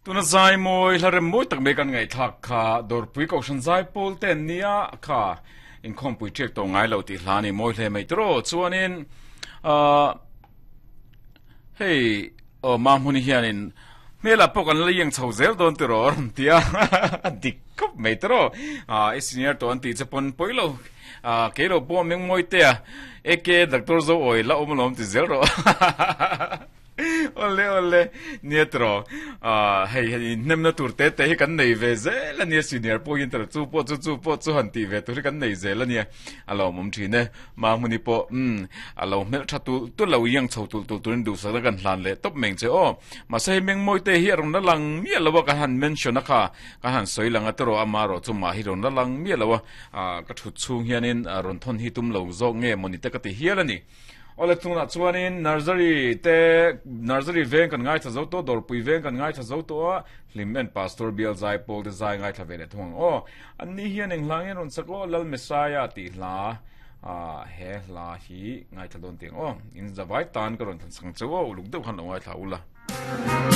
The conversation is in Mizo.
Tuna zai mawi hla rem mawi tak mai kan ngaihthlak kha Dawrpui Kohhran zai pawl te an nia kha inkhawmpui ṭiak tawh ngai lo tih hla a ni mawi hle mai tawh chuanin ahh hei aw Mahmuni hianin hmelah pawh kan la iang chho zel dawn tiraw a rawn ti a a dik khawp mai tawh ah i senior tawh an tih che pawn pawi lo ah kei lo pawh Mengmawi te a aka Doctor Zoawi la awm alawm ti zel rawh. Awle awle nia tiraw ah hei hei inhnemna tur te te hi kan nei ve zel ania senior pawh hian tiraw chu pawh chu chu pawh chu han tih ve tur hi kan nei zel ania a lawmawm thin e mahmuni pawh umm a lo hmelh tha tul tul lo iang chho tul tul turin duhsakna kan hlan leh tawp mai ang che aw mahse hei mengmawi te hi a rawn la lang miah lo a kan han mention a kha kan han sawi lang a tiraw ama erawh chu mah hi rawn la lang miah lo a ah ka thut chhung hianin rawn thawn hi tum lo zawk nge mawni te ka ti hial a ni. Awle chungah chuanin Nursery te Nursery veng kan ngaithla zo tawh, Dawrpui veng kan ngaithla zo tawh a, Hlim en Pastor Bial zai pawl te zai ngaithla ve leh thung ang aw. Anni hian eng hla nge rawn sak aw, Lal Messiah tih hla ah he hla hi ngaithla dawn tih ang aw. In zavai tan ka rawn thlan sak ang che u aw, uluk deuh khan lo ngaithla ula.